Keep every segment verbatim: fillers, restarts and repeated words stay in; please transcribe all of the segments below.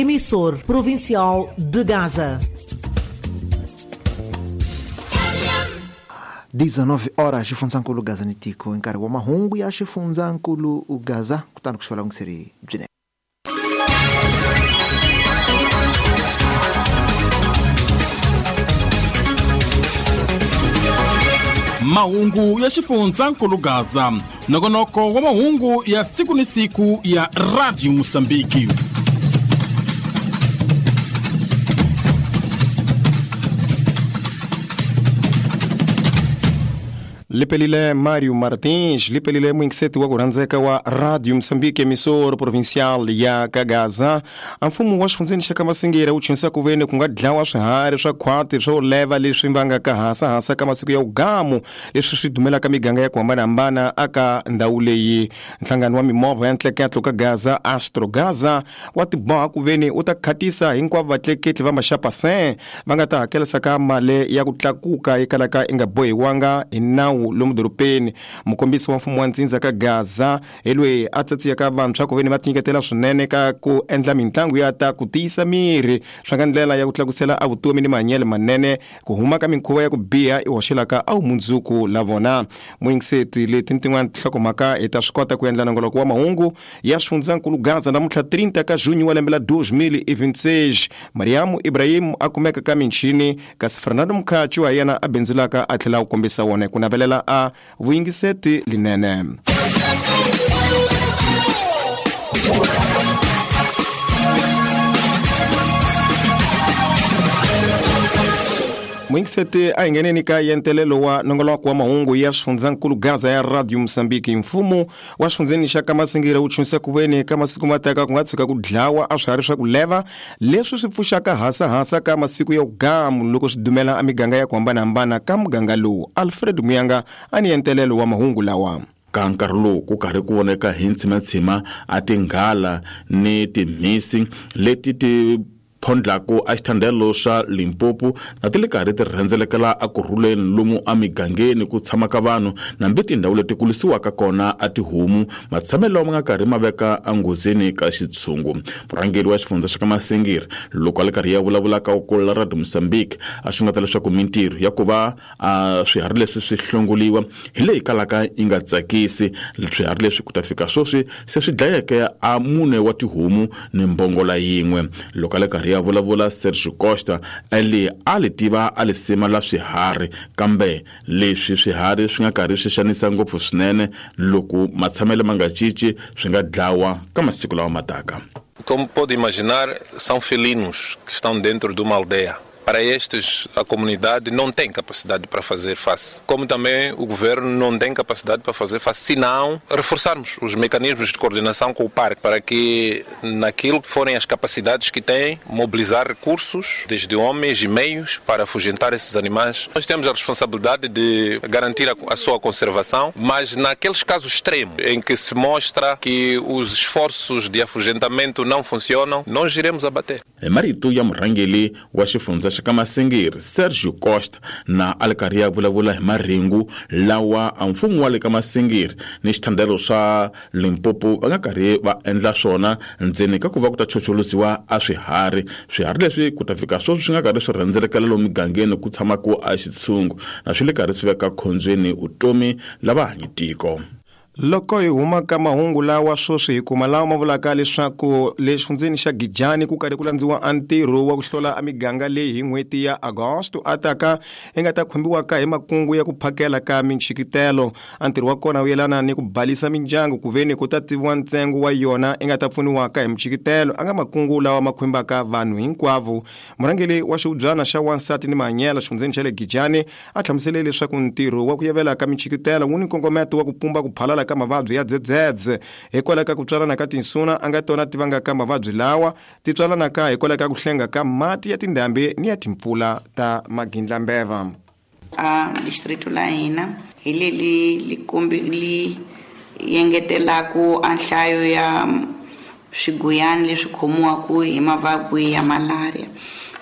emissor provincial de Gaza. dezenove horas xifundzakulu Gaza ni tiko hi nkarhi wa mahungu ya xifundzakulu Gaza kutani ku xifela n'wiseri byine. Mahungu ya xifundzakulu Gaza, nongonoko wa mahungu ya siku ni siku ya Radio Mozambique. Lipelile Mário Martins, lipelile mwingiseti wa kurhandzeka wa Radio Mozambique emissor provincial ya Kagaza. Mfumo wa xifundzeni xa Kamasingira wu chunisa ku veni ku nga dlawa swiharhi swa khwati swo leva leswi vangaka hasahasa ka masiku ya ugamu leswi swi dumelaka miganga ya ku hambanahambana aka ndhawu leyi. Nhlangano wa mimovha ya ntleketlo ka Gaza Astro Gaza wa tiboha ku veni u ta khatisa hinkwavo vatleketli va maxapasen va nga ta hakelisa ka mali ya ku tlakuka yi kalaka yi nga bohiwanga hi nawu lomu dorobeni. Mukombisi wa mfumo wa ntsindza ka Gaza hi loyi a tsatsiyaka vantshwa ku veni va tinyiketela swinene ka ku endla mitlangu ya ta ku tiyisa miri swa nga ndlela ya ku tlakusela a vutomi ni mahanyelo manene ku huma ka minkhuva ya ku biha i hoxelaka a vumundzuku la vona. Muyingiseti leti ni tin'wana tinhlokomhaka hi ta swi kota ku endla nongoloko wa mahungu ya xifundzakulu Gaza namuntlha trinta ka junho wa lembe la dois mil e vinte e seis. Mariamu Ibrahim a kumeka ka michini kasi Fernando Mkhachi wa yena a bindzulaka a tlhela a kombisa wona ku navelela a vuyingiseti linene. Mwingiseti a hi ngheneni ka yentelelo wa nongoloko wa mahungu ya xifundzakulu Gaza ya Radio Mozambique. Mfumo wa xifundzeni xa Kamasingira wu chunisa ku veni ka masiku ma taka ku nga tshuka ku dlawa a swiharhi swa ku leva leswi swi pfuxaka hasahasa ka masiku ya ugamu loko swi dumela a miganga ya ku hambanahambana ka muganga lowu. Alfred Muyanga a ni yentelelo wa mahungu lawa. Ka nkarhi lowu ku karhi ku voneka hi ntshimatshima a tinghala ni timhisi leti ti phondlaku a xithandelo xa Limpopo na ti le karhi ti rhendzelekela ekurhuleni lomu emigangeni ku tshamaka vanhu nambi tindhawu leti kulisiwaka kona a tihomu matshamelo lawa ma nga karhi ma veka enghozini ka xitshungu. Murhangeri wa xifundza xa Kamasingiri loko a le karhi ya vulavula ka ku Radio Mozambique a xungeta leswaku mintirho ya ku va a swiharhi leswi swi hlongoliwa hi leyi kalaka yi nga tsakisi. Swiharhi leswi ku ta fika sweswi se swi dlayeke a mune wa tihomu ni mbongola yin'we. Loko a le karhi ya vulavula Sergio Costa ali a li tiva a li sima la swiharhi kambe leswi swiharhi swi nga karhi swi xanisa ngopfu swinene loko matshamelo ma nga cinci swi nga dlawa ka masiku lawa ma taka. Como pode imaginar, são felinos que estão dentro de uma aldeia. Para estes, a comunidade não tem capacidade para fazer face. Como também o governo não tem capacidade para fazer face, se não reforçarmos os mecanismos de coordenação com o parque, para que naquilo que forem as capacidades que têm, mobilizar recursos, desde homens e meios, para afugentar esses animais. Nós temos a responsabilidade de garantir a, a sua conservação, mas naqueles casos extremos em que se mostra que os esforços de afugentamento não funcionam, nós iremos abater. Marito ya murhangeri wa xifundza xa Kamasingiri Sergio Costa na a le karhi ya vulavula hi marhengu lawa a mfumo wa le Kamasingiri ni xithandelo swa Limpopo va nga karhi va endla swona ndzeni ka ku va ku ta chocholusiwa a swiharhi. Swiharhi leswi ku ta fika sweswi swi nga karhi swi rhendzelekela lomu migangeni ku tshamaka a xitshungu na swi le karhi swi veka khombyeni vutomi lava hanyi tiko. Loko hi huma ka mahungu lawa sweswi hi kuma lawa ma vulaka leswaku le xifundzeni xa Gijani ku karhi ku landziwa a ntirho wa ku hlola a miganga leyi hi n'hweti ya Agosto a taka yi nga ta khumbiwaka hi makungu ya ku phakela ka minchikitelo. A ntirho wa kona wu yelana ni ku balisa mindyangu ku veni ku ta tiviwa ntsengo wa yona yi nga ta pfuniwaka hi minchikitelo a nga makungu lawa ma khumbaka vanhu hinkwavo. Murhangeri wa xihubyana xa wansati ni mahanyelo xifundzeni xa le Gijani a hlamusele leswaku ntirho wa ku yevela ka minchikitelo wu ni nkongometo wa ku pumba ku phalala ka mavabyi ya dzedzedze hikwalaho ka ku tswalana ka tinsuna a nga tona ti vangaka mavabyi lawa ti tswalanaka hikwalaho ka ku hlenga ka mati ya tindhambi ni ya timpfula ta magindlambeva. A distrito la hina hi leli li kombi li yengetelaku a nhlayo ya swiguyani leswi khomiwaka hi mavabyi ya malaria.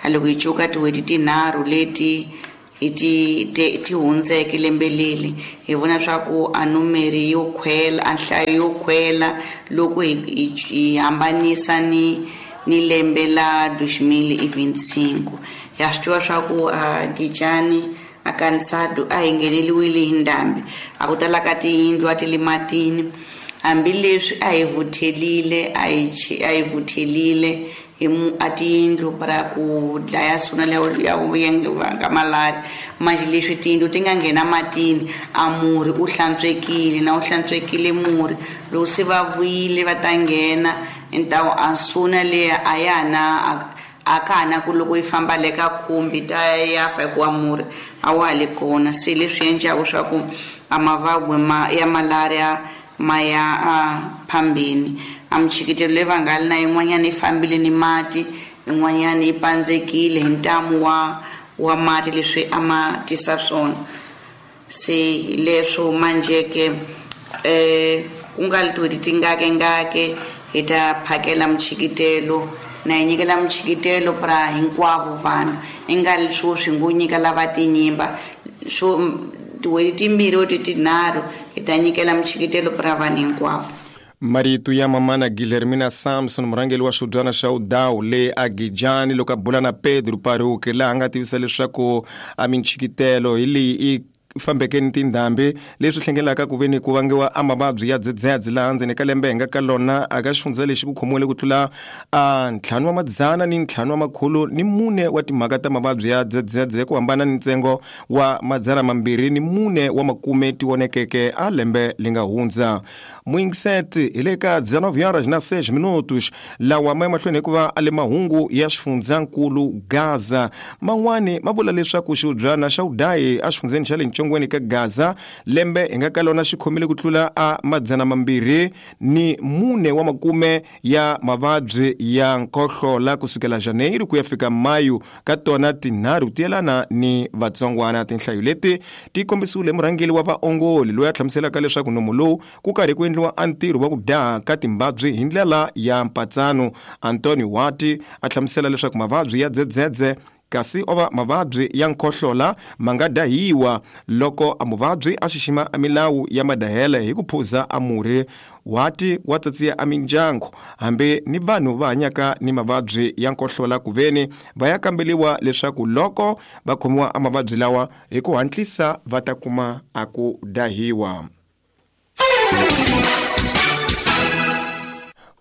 A loko hi cuka tin'hweti tinharhu leti hi ti ti hundzeke lembe leli hi vona swa ku a numeri yo khwela a nhlayo yo khwela loko hi hi hambanisa ni ni lembe la dois mil e vinte e cinco. Ya swi tiva swa ku a Gijani a Kansado a hi ngheneliwile hi ndhambi, a ku tala ka tiyindlu a ti le matini, hambileswi a hi vuthelile a hi a hi vuthelile hi a tiyindlu para ku dlaya suna ya vanga malaria. Manje leswi tiyindlu ti nga nghena matini a murhi u hlantswekile, na u hlantswekile murhi loko se va vuyile va ta nghena ntawu a suna leya a ya na a ka ha na ku loko yi famba le ka khumbi ta ya fa hikuva murhi a wa ha le kona. Se leswi endlaku swa ku a mavabyi ma ya malaria ma ya a phambeni. A michikitelo leyi va nga li na yin'wanyana yi fambile ni mati, yin'wanyana yi pandzekile hi ntamu wa wa mati leswi a ma tisa swona. Se leswo manjeke eh ku nga li tin'hweti tingakengake hi ta phakela michikitelo na hi nyikela michikitelo pra hinkwavo vanhu, i nga li swo swi ngo nyika lava tinyimba swo tin'hweti timbirhi or tinharhu hi ta nyikela michikitelo pra vanhu hinkwavo. Marito ya mamana Guilhermina Samson, murhangeri wa xidyana xa Udawu le Agijani, loko a bula na Pedro Paruke, laha a nga tivisa leswaku a michikitelo hi leyi i fambeke ni tindhambi leswi hlengelaka ku veni ku vangiwa a mavabyi ya dzedzedze laha ndzeni ka lembe hi nga ka lona aka xifundza lexi ku khomiwile ku tlula a ntlhanu wa madzana ni ntlhanu wa makhulu ni mune wa timhaka ta mavabyi ya dzedzedze ku hambana ni ntsengo wa madzana mambirhi ni mune wa makume ti vonekeke a lembe li nga hundza. Muingiseti hi le ka dezenove horas na seis minutos lawa ma ya mahlweni hikuva a le mahungu ya xifundzankulu Gaza. Man'wani ma vula leswaku xiudyana xa Udayi exifundzeni xa le Ntshongweni ka Gaza lembe hi nga ka lona xi khomile ku tlula a madzana mambirhi ni mune wa makume ya mavabyi ya nkohlola kusukela Janeiro ku ya fika Mayu ka tona tinharhu ti yelana ni vatsongwana. Tinhlayo leti ti kombisiwile murhangeri wa vaongoli loyi a hlamuselaka leswaku nomo lowu ku karhi ku endliwa a ntirho wa ku daha ka timbabyi hi ndlela ya mpatsano. Antonio Wati a hlamusela leswaku mavabyi ya dzedzedze kasi ova mavabyi ya nkhohlola ma nga dahiwa loko a muvabyi a xixima a milawu ya madahele hi ku phuza a murhi. Wati wa tsatsiya a mindyangu hambi ni vanhu va hanyaka ni mavabyi ya nkohlola ku veni va ya kambeliwa leswaku loko va khomiwa a mavabyi lawa hi ku hatlisa va ta kuma a ku dahiwa.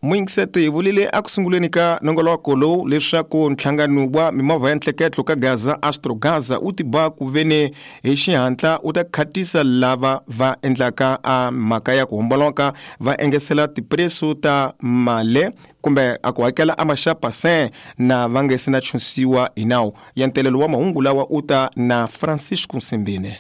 Muingiseti hi vulile eku sunguleni ka nongoloko lowu leswaku nhlangano wa mimovha ya ntleketlo ka Gaza Astro Gaza wu tiboha ku veni hi xihatla wu ta khatisa lava va endlaka a mhaka ya ku homboloka va engesela tipreso ta male kumbe a ku hakela a maxapa se na va nge se na chunsiwa hi nawu. Ya ntelelo wa mahungu lawa u ta na Francisco Nsimbine.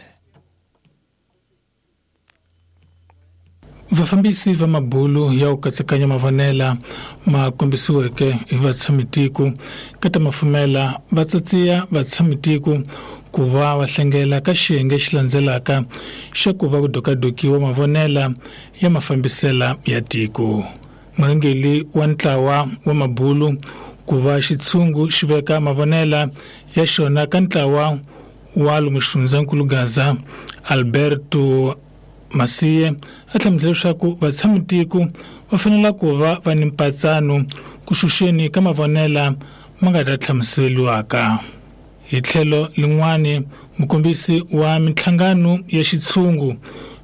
Vafambisi va mabulu ya ku katsekanya mavonela ma kombisiweke hi vatshamitiko ka ta mafumela va tsatsiya vatshamitiko ku va va hlengela ka xiyenge xi landzelaka xa ku va ku dokadokiwa mavonela ya mafambisela ya tiko. Murhangeri wa ntlawa wa mabulu ku va xitshungu xi veka mavonela ya xona ka ntlawa wa lomu xifundzankulu Gaza Alberto Masiye a hlamusela leswaku vatshamitiko va fanele ku va va ni mpatsano ku xuxeni ka mavonela ma nga ta hlamuseriwaka. Hi tlhelo lin'wani mukombisi wa minhlangano ya xitshungu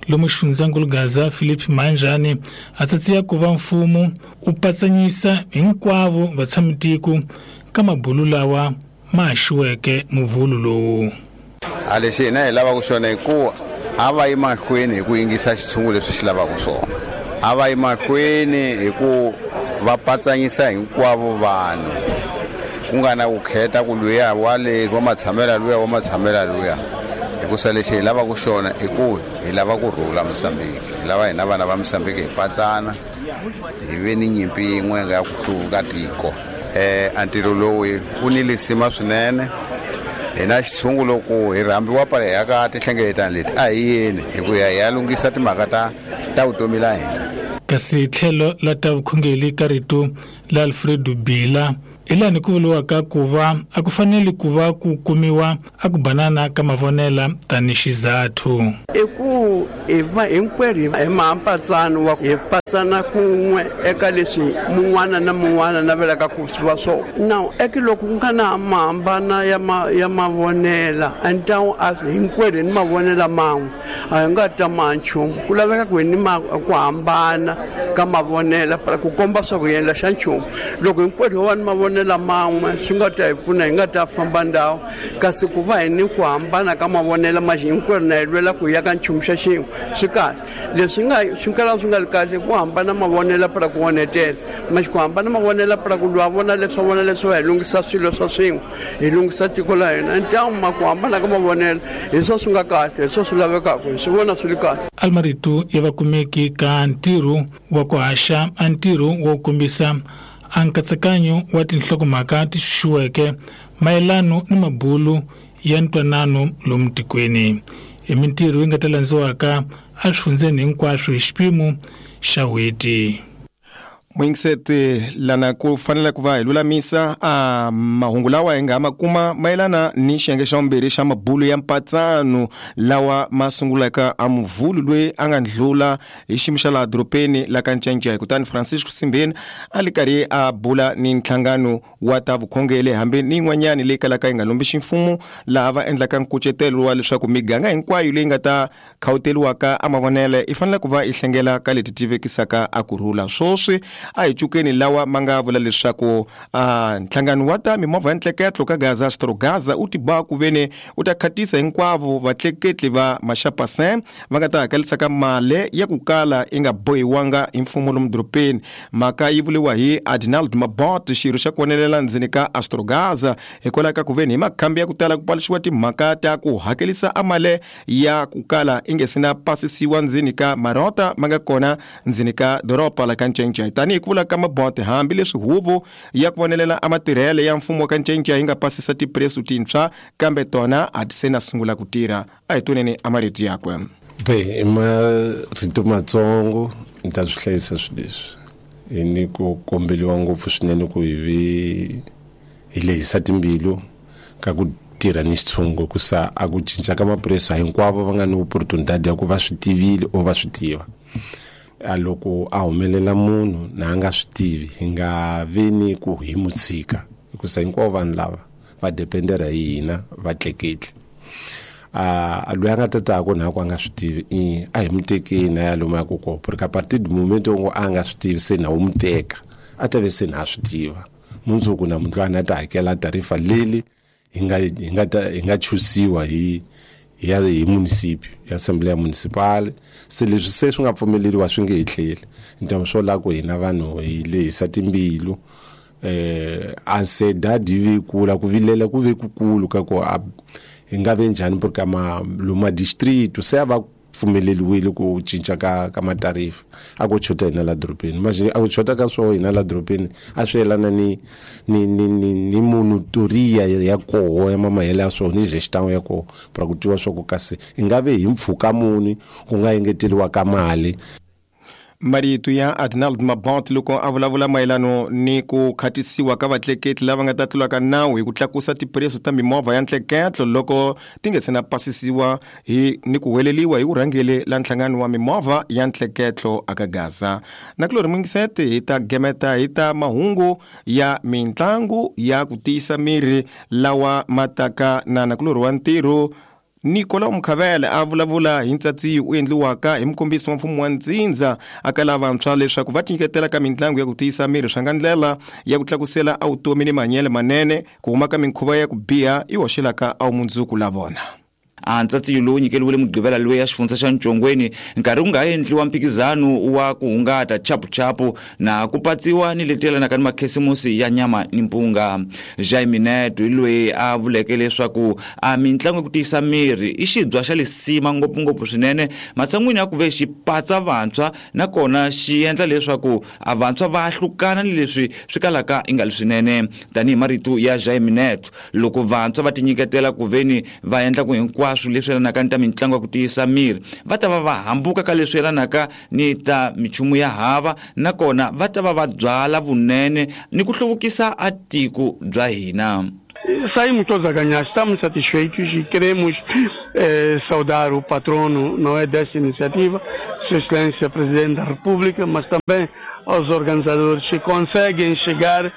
lomu xifundzankulu Gaza Philip Manjani a tsatsiya ku va mfumo wu patsanyisa hinkwavo vatshamitiko ka mabulu lawa ma haxiweke muvhulu lowu. A lexi hina hi lavaka xona hi ku a va yi mahlweni hi ku yingisa xitshungu leswi xi lavaka swona, a va yi mahlweni hi ku va patsanyisa hinkwavo vanhu ku nga na ku kheta ku luya wa le wa matshamela luya wa matshamela luya, hikusa lexi hi lavaka xona i ku hi lava ku rhula Mozambique, hi lava hina vana va Mozambique hi patsana hi ve ni nyimpi yin'we ya ku hluvuka tiko. Eh a ntirho lowu wu ni lisima swinene. Hina xitshungu loko hi rhambiwa pala hi ya ka tinhlengeletano leti a hi yeni hi ku ya hi ya lunghisa timhaka ta ta vutomi la hina. Kasi tlhelo la ta vukhongeri ka rito la Alfredo Bila Hi laha ku vuriwaka ku va a ku fanele ku va ku kumiwa a ku banana ka mavonela tanihi xizathu. I ku hi va hinkwerhu hi mampatsano wa hi patsana kun'we eka leswi mun'wana na mun'wana navelaka ku swi va swona. Now eka loko ku nga na mahambana ya ma ya mavonela antawu a hinkwerhu ni mavonela man'we a hi nga ta ma nchumu. Ku laveka ku hi ni ku hambana ka mavonela ku komba swa ku hi endla xa nchumu. Loko hinkwerhu ho va ni mavonela man'we swi nga ta hi pfuna hi nga ta famba ndhawu, kasi ku va hi ni ku hambana ka mavonela ma hinkwerhu na hi lwela ku ya ka nchumu xa xin'we swi kahle. Leswi nga swi kala swi nga ri kahle ku hambana mavonela para ku onhetela ma ku hambana mavonela para ku lwa vona leswi vona leswi va hi lunghisa swilo swa swin'we hi lunghisa tiko la hina. Ntamu ma ku hambana ka mavonela hi swo swi nga kahle, hi swo swi lavekaka, hi swi vona swi ri kahle. Almarito ya vakumeki ka ntirho wa ku haxa a ntirho wo kombisa a nkatsakanyo wa tinhlokomhaka ti xuxiweke mayelano ni mabulu ya ntwanano lomu tikweni. I mintirho yi nga ta landziwaka eswifundzeni hinkwaswo hi xipimo xa n'hweti. Mwingiseti lana ku fanele ku va hi lulamisa a mahungu lawa hi nga ma kuma mayelana ni xiyenge xa vumbirhi xa mabulu ya mpatsano lawa ma sungulaka a muvhulu loyi a nga ndlula hi xiyimo xa laha dorobeni la ka Ncancai. Kutani Francisco Simbeni a li karhi a bula ni nhlangano wa ta vukhongeri hambi ni yin'wanyani leyi kalaka yi nga lombi ximfumo, laha va endlaka nkucetelo wa leswaku miganga hinkwayo leyi nga ta khawuteriwaka a mavonele i fanele ku va yi hlengela ka leti tivekisaka a kurhula. Swoswi a hi cukeni lawa ma nga vula leswaku a nhlangano wa ta mimovha ya ntleketlo ka Gaza Astrogaza u tiba ku veni u ta khatisa hinkwavo vatleketli va maxapasin va nga ta hakelisaka mali ya ku kala yi nga bohiwanga hi mfumo lomu dorobeni. Mhaka yi vuriwa hi Adinald Mabot, xirho xa ku vonelela ndzeni ka Astrogaza, hikwalaho ka ku veni hi makhambi ya ku tala ku paluxiwa timhaka ta ku hakelisa a mali ya ku kala yi nge se na pasisiwa ndzeni ka marota ma nga kona ndzeni ka doroba la ka Ncancai. Tanihi ku vula ka Mabot, hambileswi huvo ya ku vonelela a matirhele ya mfumo wa ka Ncancai yi nga pasisa tipresu tintshwa, kambe tona a ti se na sungula ku tirha. A hi twaneni a marito yakwe. Be i marito matsongo ni ta swi hlayisa swilo leswi hi ni ku kombeliwa ngopfu swinene ku hi vi hi lehisa timbilu ka ku tirha ni xitshungu, ku sa a ku cinca ka mapreso hinkwavo va nga ni opportunity ya ku va swi tivile o va swi tiva. A loko a humelela munhu na a nga swi tivi hi nga vi ni ku hi mu tshika, hikusa hinkwavo vanhu lava va dependera hi hina va tleketli. A loyi a nga tataku na ku a nga swi tivi i a hi mu tekeni a ya lomu ya ku kona, porque a partir du moment ngo a nga swi tivi se na wu mu teka a ta ve se na a swi tiva mundzuku na munhu loyi a ta hakela tarifa leli hi nga hi nga ta hi nga chusiwa hi ya hi municipio ya assembly municipal. Se leswi se swi nga pfumeleriwa swi nge hi tlheli ntamu swo la ku hina vanhu hi lehisa timbilu. Eh a se dadi vi kula ku vilela ku ve kukulu ka ku hi nga ve njhani porque ma loma district se va pfumeleriwile ku cinca ka ka matarifa a ku chota hina la dorobeni. Manje a ku chota ka swo hina la dorobeni a swi yelana ni ni ni ni, ni monotoria ya koho ya mamahele ya swo ni gestion ya koho para ku tiwa swa ku kasi hi nga ve hi mpfhuka muni ku nga engeteriwa ka mali. Marito ya Adinald Mabot loko a vulavula mayelano ni ku khatisiwa ka vatleketli lava nga ta tlulaka nawu hi ku tlakusa tipreso ta mimovha ya ntleketlo loko ti nge se na pasisiwa hi ni ku weleliwa hi vurhangeri la nhlangano wa mimovha ya ntleketlo aka Gaza. Na kulori mwingisete hi ta gemeta hi ta mahungu ya mintlangu ya ku tiyisa miri lawa mataka na nakulori wa ntirho Nicolau Mkhavele a vulavula hi ntsatsiyo u endliwaka hi mukombisi wa mfumo wa ntsindza aka lavantshwa leswaku va tinyiketela ka mintlangu ya ku tiyisa miri swa nga ndlela ya ku tlakusela a vutomi ni mahanyelo manene ku huma ka minkhuva ya ku biha yi hoxelaka a vumundzuku la vona. A ntsatsiyo lowu nyikeriwile Mugqivela loyi ya xifundza xa Ntshongweni nkarhi wu nga endliwa mphikizano wa ku hungata chapuchapu na ku patsiwa ni leti yelanaka ni makhisimusi ya nyama ni mpunga. Jaime Neto loyi a vuleke leswaku a mintlangu ya ku tiyisa miri i xibya xa lisima ngopfungopfu swinene matshan'wini ya ku ve xi patsa vantshwa nakona xi endla leswaku a vantshwa va hlukana ni leswi swi kalaka i nga li swinene. Tanihi marito ya Jaime Neto, loko vantshwa va tinyiketela ku veni va endla ku hinkwaswo hinkwaswo leswi yelanaka ni ta mitlangu ya ku tiyisa miri va ta va va hambuka ka leswi yelanaka ni ta michumu ya hava nakona va ta va va byala vunene ni ku hluvukisa a tiko bya hina. Saímos todos a ganhar, estamos satisfeitos e queremos eh, saudar o patrono, não é, desta iniciativa, Sua Excelência Presidente da República, mas também aos organizadores que conseguem chegar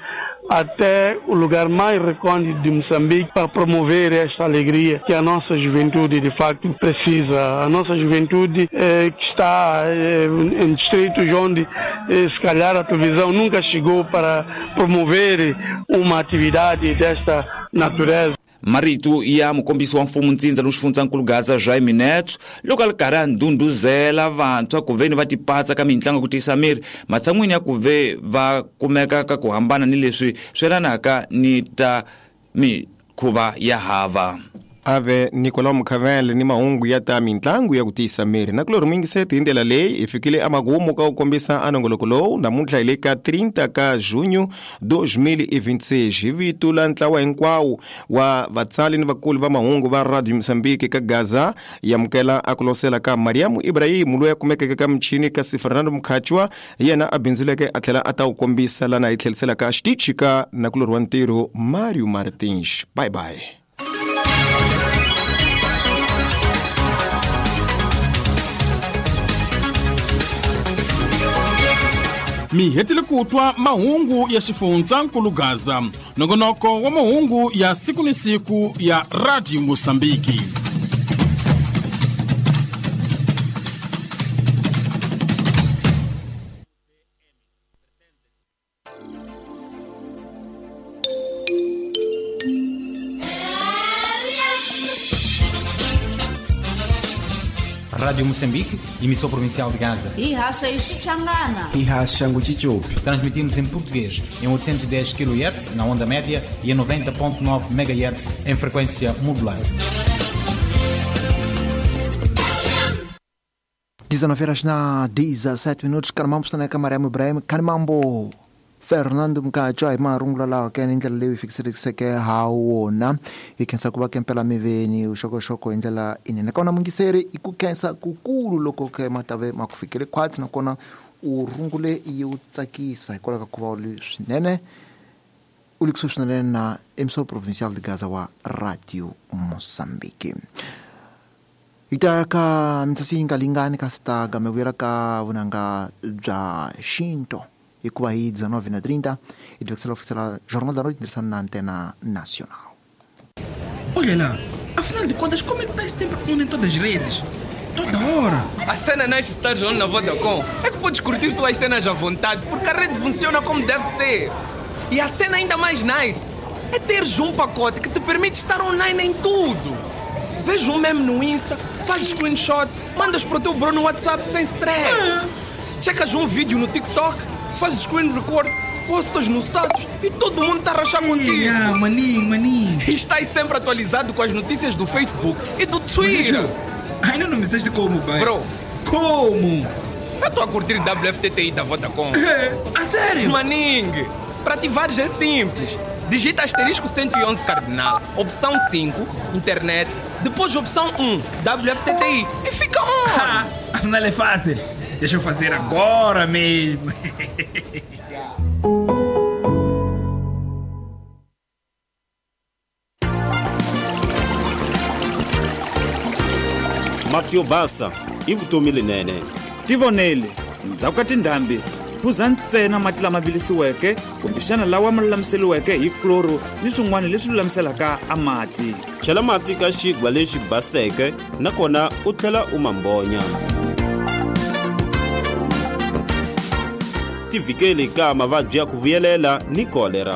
até o lugar mais recôndito de Moçambique para promover esta alegria que a nossa juventude de facto precisa. A nossa juventude eh, que está eh, em distritos onde eh, se calhar a televisão nunca chegou para promover uma atividade desta natureza. Marito ya mukombisi wa mfumo ntsindza lowu xifundzankulu Gaza Jaime Neto loko a ri karhi a ndhundhuzela vantshwa ku ve ni va tipatsa ka mitlangu ya ku tiyisa miri matshan'wini ya ku ve va kumeka ka ku hambana ni leswi swi yelanaka ni ta mikhuva ya hava. Ave Nicolau Mukhavele ni mahungu ya ta mitlangu ya ku tiyisa miri na kulori mingiseti hi ndlela leyi hi fikile emakumu ka ku kombisa anongoloko lowu namuntlha hi le ka trinta ka junho dois mil e vinte e seis hi vito la ntlawa hinkwawo wa vatsali ni vakulu va mahungu va Radio Moçambique ka Gaza yamukela a ku losela ka Mariamu Ibrahim loyi a kumekeke ka michini kasi Fernando Mkhachwa yena a bindzuleke a tlhela a ta wu kombisa lana hi tlheliselaka xitichi ka nakulori wa ntirho Mario Martins. Bye bye. Mi hetile ku twa mahungu ya xifundzankulu Gaza, nongonoko wa mahungu ya siku ni siku ya Radio Mosambiki. Rádio Moçambique, emissão provincial de Gaza. Ihasha Ixichangana. Ihasha Nguchichopi. Transmitimos em português em oitocentos e dez quilohertz na onda média e em noventa ponto nove megahertz em frequência modular. dezenove horas na dezessete minutos. Kanamambo na Camaremo Ibrahim. Kanamambo Fernando Mkachwa hi marungula lawa ke ni ndlela leyi fikiseleke ha wona hi khensa ku va kempela miveni vuxokoxoko hi ndlela inene kona mungiseri i ku khensa kukulu loko ke matave ma ku fikele khwatsi nakona u rungule yi wu tsakisa hikwalaho ka ku va u ri swinene u le kusuhi swinene na emissor provincial de Gaza wa Radio Mozambique. Hi ta ka mitsasi yi nga lingani kasi ta game vuyela ka vunanga bya xinto hikuva hi dezenove na trinta hi tivekisela oficial Jornal da Noite tirhisana na Antena Nacional. Olha lá, afinal de contas, como é que estás sempre on em todas as redes? Toda hora! A cena nice estar on na Vodacom é que podes curtir tuas cenas à vontade, porque a rede funciona como deve ser. E a cena ainda mais nice é teres um pacote que te permite estar online em tudo. Vês um meme no Insta, fazes screenshot, mandas para o teu bro no WhatsApp sem stress. Ah. Checas um vídeo no TikTok, fazes screen record, postas no status e todo mundo está a rachar contigo. Ah, maninho, maninho. E estás sempre atualizado com as notícias do Facebook e do Twitter. Mas, ainda não me disseste como, pai. Bro. Como? Eu estou a curtir W F T T I da Vodacom. É, a sério? Maninho, para ativares é simples. Digita asterisco cento e onze cardinal, opção cinco, internet, depois opção um, W F T T I e fica on. Afinal é fácil. Deixa eu fazer agora mesmo. Mati yo basa i vutomi lenene. Tivonele, ndzhaku ka tindhambi, phuza ntsena mati lama vilisiweke kumbexana lawa ma lulamiseriweke hi kloro ni swin'wana leswi lulamiselaka a mati. Chela mati ka xigwa lexi baseke nakona u tlhela u mambonya. Tivikeli ka mavabyi ya ku vuyelela ni kolera.